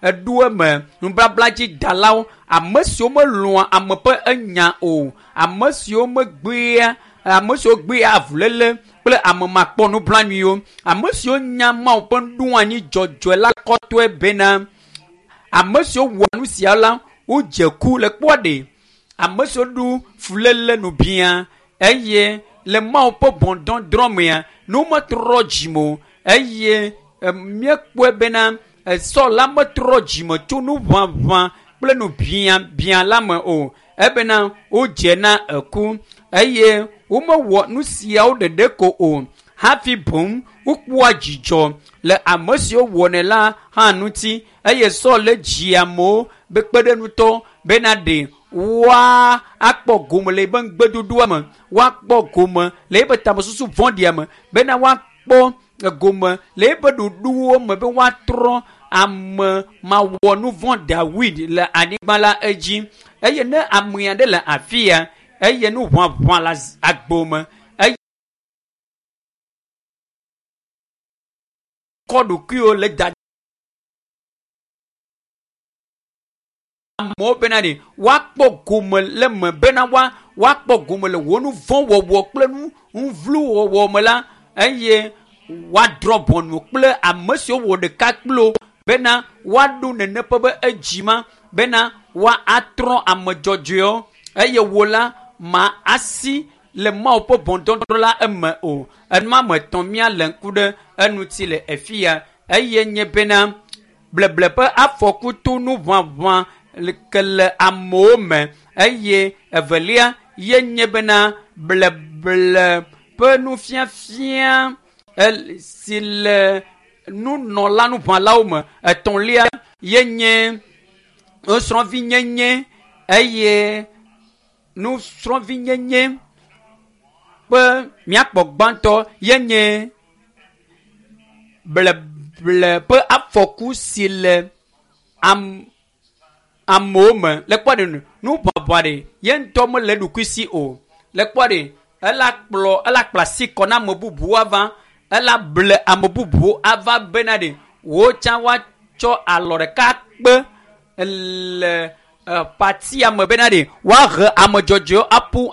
Eɖo eme nubabla dzi dalawo, ame siwo melɔ̃a ame ƒe enya o, ame siwo megbea, ame siwo gbea avuléle kple ame makpɔ nublanuiwo, ame siwo nya Mawu ƒe nuɖoanyi dzɔdzɔe la kɔtɔe bena ame siwo wɔa nu sia la wodze ku le kpɔa ɖe. Ame siwo ɖu fuléle nubia eye le Mawu ƒe ʋɔnudɔdrɔ̃ mea, ne wometrɔ dzime o eye míekpɔe bena Saul la metrɔ dzime tso nuʋaʋã kple nubiabia la me o ebena wodze na eku eye womewɔ nu siawo ɖeɖe ko o hafi boŋ wokpɔa dzidzɔ le ame siwo wɔnɛ la hã ŋuti eye Saul le dzi amewo be kpeɖeŋutɔ bena ɖe woa akpɔ gome le eƒe ŋugbedodoa me, woakpɔ gome le eƒe tamesusu vɔ̃ɖia me bena woakpɔ gome le eƒe ɖoɖowo me be woatrɔ ame mawɔ nu vɔ̃ Dawid le anyigba la edzi eye ne ame aɖe le afi ya eye nu ʋaʋã le agbo me eye kɔ ɖokuiwo le da amewo bena ɖe woakpɔ gome le me bena woa woakpɔ gome le wò nu vɔ̃ wɔwɔ kple nu nuvlu wɔwɔ me la eye woadrɔ̃ ʋɔnu kple ame siwo wɔ ɖeka kple wo bena woaɖo nene ƒe be edzi ma bena woatrɔ ame dzɔdzɔewo eye wo la ma asi le Mawu ƒe ʋɔnudɔdrɔ̃ la eme o. Enua me etɔ̃ míalé ŋku ɖe eŋuti le afi ya eye nye bena bleble ƒe afɔku to nuʋaʋã ke le amewo me eye evelia ye nye bena bleble ƒe nufiafia si le nunɔla nuʋãlawo me. Etɔ̃lia ye nye nusrɔ̃vinyenye eye nusrɔ̃vinyenye ƒe míakpɔ gbãtɔ ye nye bleble ƒe afɔku si le am amewo me le kpɔ ɖe nu nuʋaʋã ɖe ye ŋutɔ mele eɖokui si o le kpɔ ɖe ela kplɔ ela kpla asi kɔ na ame bubuwo ava ela ble ame bubuwo ava bena ɖe wo tsã woatsɔ alɔ ɖeka kpe le patia me bena ɖe woahe ame dzɔdzɔewo aƒu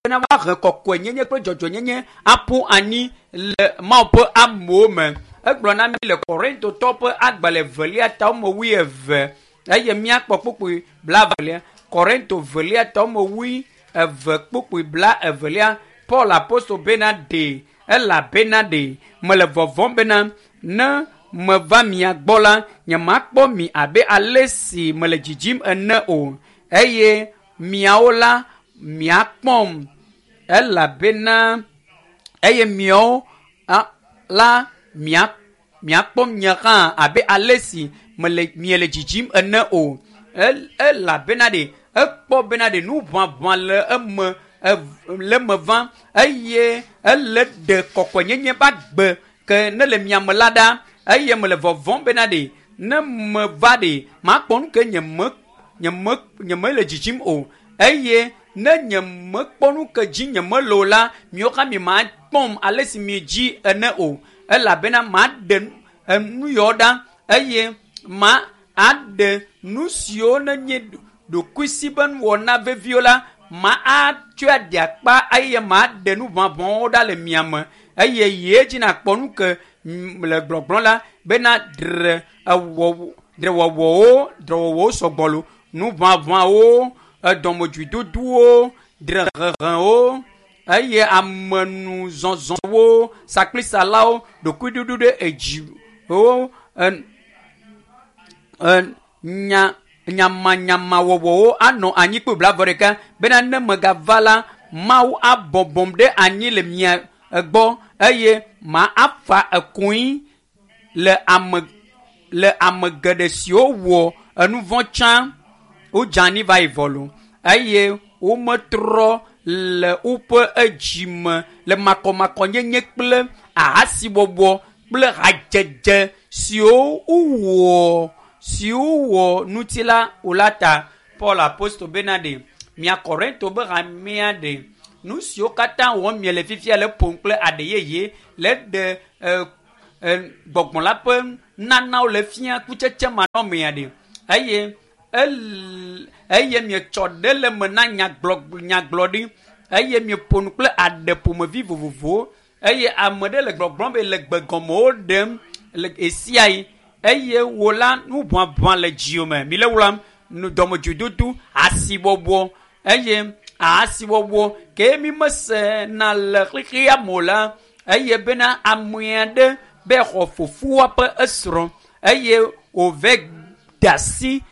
bena woahe kɔkɔenyenye kple dzɔdzɔenyenye aƒu anyi le Mawu ƒe amewo me. Egblɔ na mi le Korintotɔ ƒe agbalẽ evelia ta wɔme wuieve eye míakpɔ kpukpui blaevelia. Korinto velia ta wɔme wuieve kpukpui blaevelia. Paul apostol bena ɖe elabena ɖe mele vɔvɔ̃m bena ne meva mia gbɔ la nyemakpɔ mi abe ale si mele dzidzim ene o eye miawo la miakpɔm elabena eye miawo la mia miakpɔm nye hã abe ale si mele miele dzidzim ene o. Elabena ɖe ekpɔ bena ɖe nuʋaʋã le eme le eme vam eye ele ɖe kɔkɔenyenye ƒe agbe ke ne le miame la ɖa eye mele vɔvɔ̃m bena ɖe ne meva ɖe makpɔ nu ke nye me nye me nye mele dzidzim o eye ne nye mekpɔ nu ke dzi nye mele o la miawo hã mi makpɔm ale si mi dzi ene o elabena maɖe nu yawo ɖa eye ma aɖe nu siwo ne nye ɖokuisi be nuwɔna veviwo la ma atsɔe aɖe akpa eye maɖe nu ʋaʋãwo ɖa le mia me eye ye dzi nakpɔ nu ke le gblɔgblɔ la bena dre ewɔ drewɔwɔwo drewɔwɔwo sɔgbɔ lo nuʋaʋãwo edɔmedzoedodowo drehehewo eye amenuzɔzɔwo sakplisalawo ɖokuiɖuɖu ɖe edziwo nya nyamanyamawɔwɔwo anɔ anyi kple blaeve ɖeka bena ne megava la Mawu abɔbɔm ɖe anyi le mia gbɔ eye ma afa ekoe le ame le ame geɖe siwo wɔ enu vɔ̃ tsã wodze anyi va yi vɔ lo eye wometrɔ le woƒe edzime le makɔmakɔnyenye kple ahasiwɔwɔ kple hadzedze siwo wowɔ siwo wɔ ŋuti la o la ta. Paul apostol bena ɖe mia Korinto be hamea ɖe nu siwo katã wɔm miele fifia le ƒom kple aɖe yeye le ɖe Gbɔgbɔ la ƒe nanawo le fia kutsetse manɔmea ɖe eye eye mietsɔ ɖe le me na nyagblɔɖi eye mieƒo nu kple aɖe ƒomevi vovovowo eye ame ɖe le gbɔgblɔm be le gbegɔmewo ɖem le esia yi eye wo la nu ʋaʋã le dziwò me mi le wlam nu dɔmedzoedodo asibɔbɔ eye asiwɔwɔ ke mi mesena le xexea me o la eye bena ame aɖe be xɔ fofoa ƒe esrɔ̃ eye wòve de asi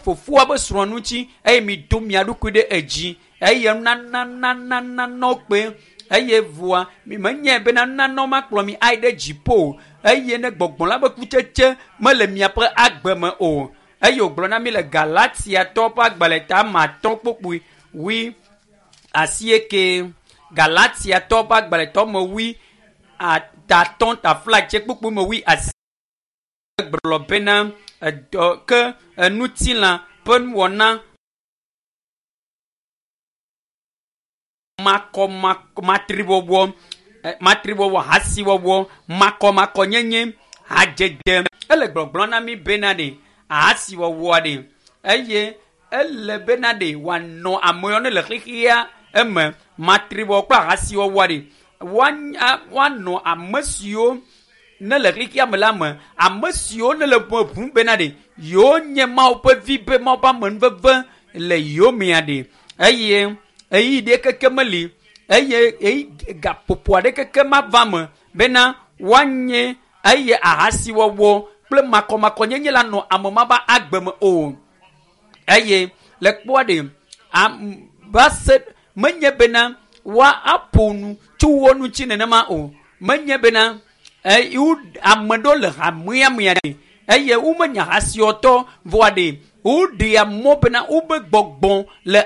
fofoa ƒe srɔ̃ ŋuti eye mi do mia ɖokui ɖe edzi eye nanananananɔ kpe eye voa mi menye bena nanɔ makplɔ mi ayi ɖe dziƒo eye ne gbɔgbɔ la ƒe kutsetse mele miaƒe agbe me o eye wògblɔ na mi le Galatiatɔwo ƒe agbalẽ ta ame atɔ̃ kpokpui wui asieke Galatiatɔwo ƒe agbalẽ tɔ me wui atatɔ̃ taflatse kpokpui me wui asi gblɔ bena edɔ ke enutilã ƒe nuwɔna makɔmakɔ matriwɔwɔ matriwɔwɔ hasiwɔwɔ makɔmakɔnyenye hadzedze ele gbɔgblɔ na mi bena ɖe hasiwɔwɔa ɖe eye ele bena ɖe wòanɔ amewo ne le xexea eme matriwɔwɔ kple hasiwɔwɔa ɖe woanɔ ame siwo ne le xexea me la me ame siwo ne le ʋum bena ɖe yewo nye Mawu ƒe vi be Mawu ƒe amenuveve le yewo mea ɖe eye eyi ɖe keke meli eye eyi gaƒoƒo aɖe keke mava me bena woanye eye ahasiwɔwɔ kple makɔmakɔnyenye la nɔ ame ma ƒe agbe me o eye le kpɔa ɖe va se menye bena woa aƒo nu tso wo ŋuti nenema o menye bena ame ɖewo le hamea mea ɖe eye womenya hasiwɔtɔ vɔa ɖe woɖea mɔ bena wobe gbɔgbɔ le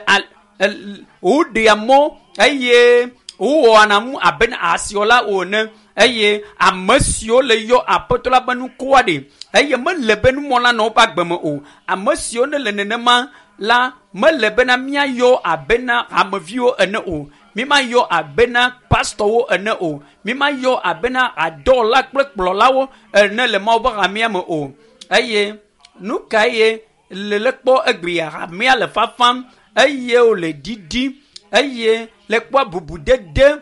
woɖea mɔ eye wowɔna nu abe ahasiwɔla o ene eye ame siwo le yɔ aƒetɔ la ƒe nukoa ɖe eye mele be numɔla nɔ woƒe agbe me o ame siwo ne le nenema la mele bena míayɔ abena hameviwo ene o mímayɔ abena pastɔwo ene o mímayɔ abena adɔwɔla kple kplɔlawo ene le Mawu ƒe hamea me o eye nu ka ye le le kpɔ egbea hamea le fafam eye wòle ɖiɖim eye le kpɔ bubudede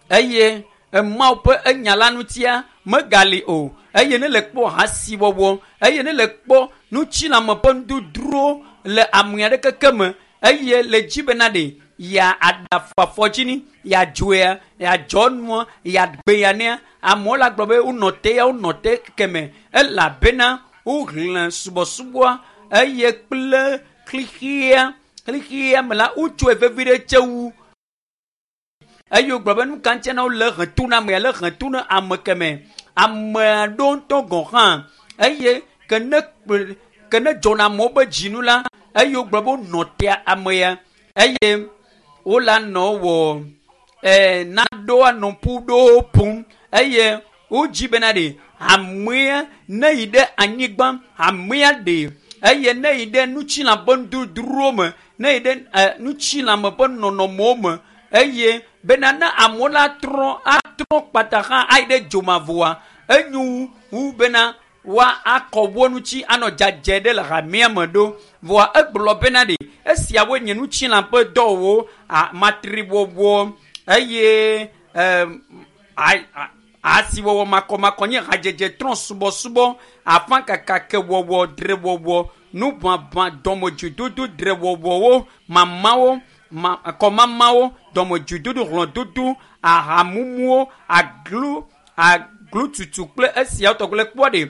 eye Mawu ƒe enya la ŋutia megali o eye ne le kpɔ hasiwɔwɔ eye ne le kpɔ nutsilame ƒe nududro le ame aɖe keke me eye le dzi bena ɖe ya aɖafɔ dzi ni ya dzoea ya dzɔ nua ya gbe ya nea amewo la gblɔ be wonɔ te ya wonɔ te keme elabena wohlẽ subɔsubɔa eye kple xixia me la wotsɔe vevi ɖe tse wu eye wogblɔ be nu ka ŋutia na wole he to na amea le he to na ame keme ame aɖewo ŋutɔ gɔ̃ hã eye ke ne dzɔna amewo ƒe dzinu la eye wogblɔ be wonɔ tea ame ya eye wola nɔ wɔ naɖewo anɔ ƒu ɖewo ƒom eye wodzi bena ɖe hamea ne yi ɖe anyigba hamea ɖe eye ne yi ɖe nutsilã ƒe nududrowo me ne yi ɖe nutsilãme ƒe nɔnɔmewo me eye bena ne amewo la trɔ atrɔ kpata hã ayi ɖe dzomavɔa enyo wu bena woa akɔ wo ŋuti anɔ dzadze ɖe le hamea me ɖo vɔa egblɔ bena ɖe esiawoe nye nutsilã ƒe dɔwɔwɔ matriwɔwɔ eye asiwɔwɔ makɔmakɔ nye hadzedze trɔ subɔsubɔ afakakakewɔwɔ drewɔwɔ nuʋaʋã dɔmedzoedodo drewɔwɔwo mamawo kɔmamawo dɔmedzoedodo hlɔ̃dodo ahamumuwo aglu aglututu kple esiawo tɔgbe le kpɔ ɖe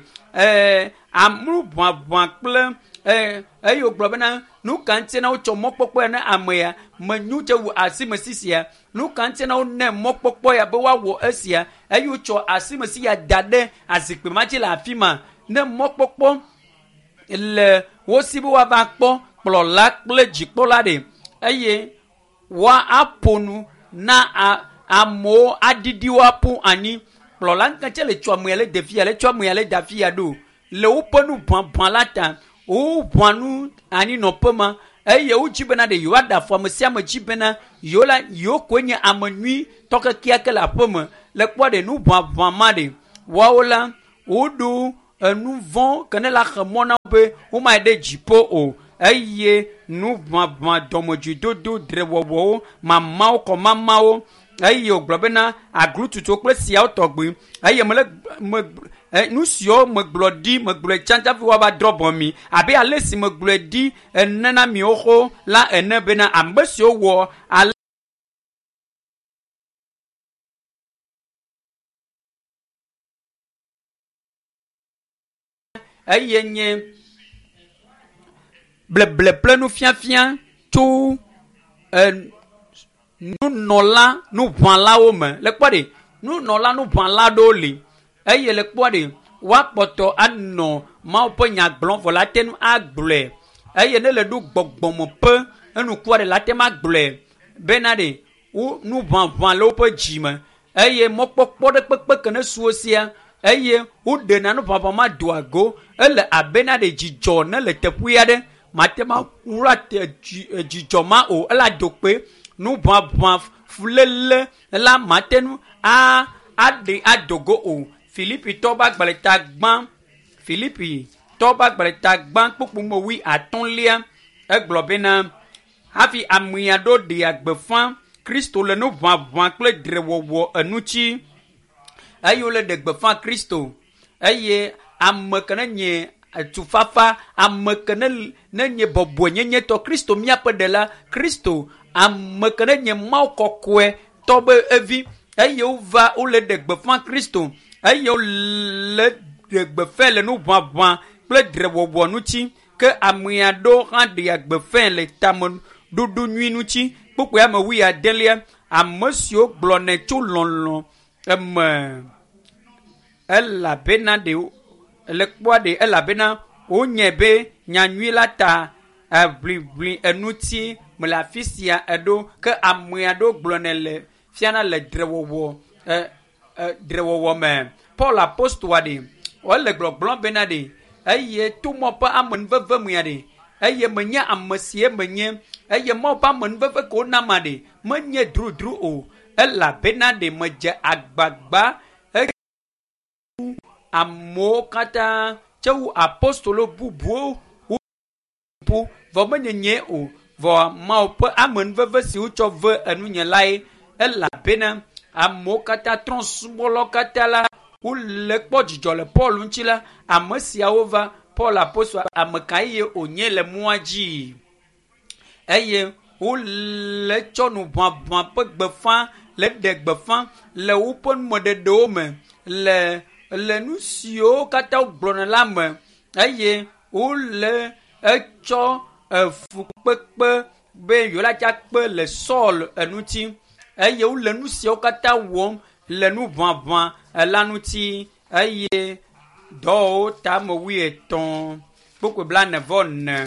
anuʋaʋã kple eye wògblɔ bena nu ka ŋuti na wotsɔ mɔkpɔkpɔ ya na ame ya menyu tse wu asimesi sia nu ka ŋuti na wonɛ mɔkpɔkpɔ ya be woawɔ esia eye wotsɔ asimesi ya da ɖe azikpui ma dzi le afi ma ne mɔkpɔkpɔ le wo si be woava kpɔ kplɔla kple dzikpɔla ɖe eye woa aƒo nu na amewo aɖiɖi wo aƒu anyi kplɔla ŋketse le tsɔ amea le ɖevia le tsɔ amea le davi ya ɖo le woƒe nu ʋaʋã la ta woʋã nu anyinɔƒe ma eye wodzi bena ɖe yewoaɖe afɔ ame sia ame dzi bena yewo la yewo koe nye ame nyuitɔ kekeake le aƒe me le kpɔ ɖe nu ʋaʋã ma ɖe Woawo la, woɖo enu vɔ̃ ke ne la xe mɔ na wo be womayi ɖe dziƒo o eye nuʋaʋã dɔmedzoedodo drewɔwɔwo mamawo kɔmamawo eye wògblɔ bena aglututuwo kple siawo tɔgbi eye mele me nu siwo megblɔ ɖi megblɔe tsã hafi woava drɔ̃ ʋɔ mi abe ale si megblɔe ɖi ene na miwo xoxo la ene bena ame siwo wɔ ale eye nye bleble kple nufiafia tso nunɔla nuʋãlawo me le kpɔ ɖe nunɔla nuʋãla ɖewo li eye le kpɔ ɖe woakpɔtɔ anɔ Mawu ƒe nya gblɔm vɔ la te ŋu agblɔe eye ne le ɖo gbɔgbɔme ƒe enukua ɖe la te ŋu agblɔe bena ɖe wo nuʋaʋã le woƒe dzi me eye mɔkpɔkpɔ ɖe kpekpe ke ne su wo sia eye woɖena nuʋaʋã ma doa go ele abena ɖe dzidzɔ ne le teƒe aɖe mate ma wla dzidzɔ ma o ela do kpe nuʋaʋã fuléle la mate ŋu aɖe ado go o. Filipitɔwo ƒe agbalẽ ta gbã Filipitɔwo ƒe agbalẽ ta gbã kpukpu me wui atɔ̃lia egblɔ bena hafi ame aɖewo ɖea gbeƒã Kristo le nuʋaʋã kple drewɔwɔ eŋuti eye wole ɖe gbeƒã Kristo eye ame ke ne nye tufafa ame ke ne nye bɔbɔenyenyetɔ Kristo míaƒe ɖela Kristo ame ke ne nye Mawu kɔkɔe tɔ be evi eye wova wole ɖe gbeƒã Kristo eye wole ɖe gbeƒãe le nuʋaʋã kple drewɔwɔ ŋuti ke ame aɖewo hã ɖea gbeƒãe le tameɖoɖo nyui ŋuti. Kpukpui ame wui adelia ame siwo gblɔnɛ tso lɔlɔ̃ eme elabena ɖe le kpɔa ɖe elabena wonye be nyanyui la ta eʋliʋli eŋuti mele afi sia eɖo ke ame aɖewo gblɔnɛ le fiana le drewɔwɔ drewɔwɔ me. Paul apostoa ɖe wole gblɔgblɔm bena ɖe eye to mɔ ƒe amenuveve mea ɖe eye menye ame sie menye eye mɔ ƒe amenuveve ke wonama ɖe menye drudru o elabena ɖe medze agbagba amewo katã tse wu apostolo bubuwo ƒu vɔ menye nye o vɔ Mawu ƒe amenuveve si wotsɔ ve enunye lae elabena amewo katã trɔ̃subɔlawo katã la wole kpɔ dzidzɔ le Paul ŋuti la ame siawo va Paul apostol ame ka ye wònye le mɔa dzi eye wole tsɔ nuʋaʋã ƒe gbeƒã le ɖe gbeƒã le woƒe numeɖeɖewo me le le nu siwo katã wogblɔna la me eye wole etsɔ efukpekpe be yewo la dza kpe le Saul eŋuti eye wole nu siawo katã wɔm le nuʋaʋã la ŋuti eye dɔwɔwɔwo ta ame wuietɔ̃ kpukpui blaene vɔ ene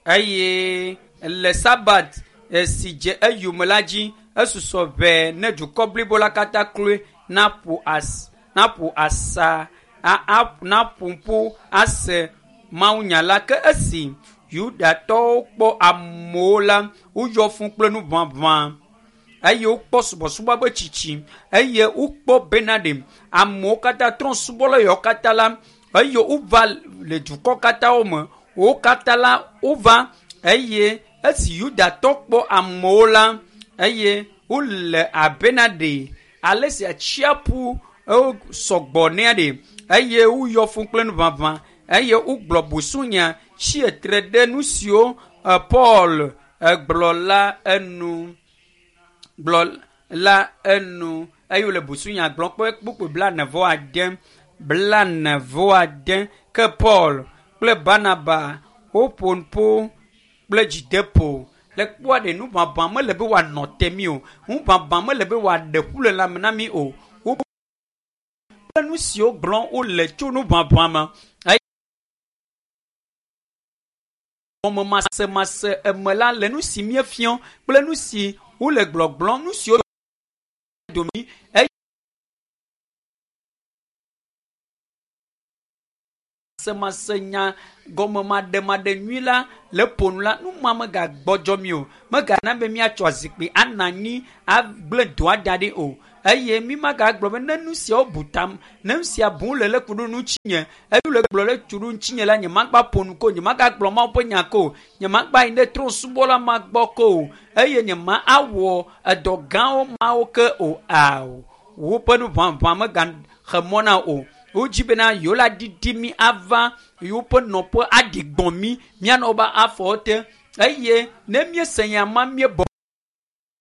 eye le Sabat si dze eyome la dzi esusɔ ʋɛ ne dukɔ blibo la katã kloe naƒo as naƒo asa naƒo ƒu ase mawunya la ke esi Yudatɔwo kpɔ amewo la woyɔ fũ kple nuʋaʋã eye wokpɔ subɔsubɔ be tsitsi eye wokpɔ bena ɖe amewo katã trɔ̃subɔla yawo katã la eye wova le dukɔ katã wo me wo katã la wova eye esi Yudatɔ kpɔ amewo la eye wole abena ɖe ale si atsiaƒu sɔgbɔ nea ɖe eye woyɔ fũ kple nuʋaʋã eye wogblɔ busunya tsi etre ɖe nu siwo Paul gblɔ la enu gblɔ la enu eye wole busunya gblɔm kpe kpukpui blaene vɔ ade blaene vɔ ade ke Paul kple Barnaba woƒo ƒu kple dzideƒo le kpɔa ɖe nuʋaʋã mele be wòanɔ te mí o nuʋaʋã mele be wòaɖe ƒu le lãme na mí o kple nu siwo gblɔm wole tso nuʋaʋã me eye gɔmemasemase eme la le nu si míefiɔ kple nu si wole gblɔgblɔm nu siwo domi eye semase nya gɔmemaɖemaɖe nyui la le ƒonu la nu ma megagbɔdzɔ mi o megana be míatsɔ zikpui anɔ anyi agblẽ dɔa da ɖi o. Eye mi magagblɔ be ne nu siawo bu tam, ne nu sia bum le le ku ɖo ŋutinye, eye le gblɔ le tu ɖo ŋutinye la, nyemagba ƒo nu ko, nyemagagblɔ Mawu ƒe nya ko, nyemagba yi ɖe trɔ̃subɔla ma gbɔ ko o, eye nyema awɔ edɔ gãwo mawo ke o. Ao, woƒe nuʋaʋã megaxe mɔ na o. Wodzi bena yewo la ɖiɖi mi ava yewoƒe nɔƒe aɖi gbɔ̃ mi, míanɔ woƒe afɔwo te. Eye ne míese nya ma míebɔbɔ.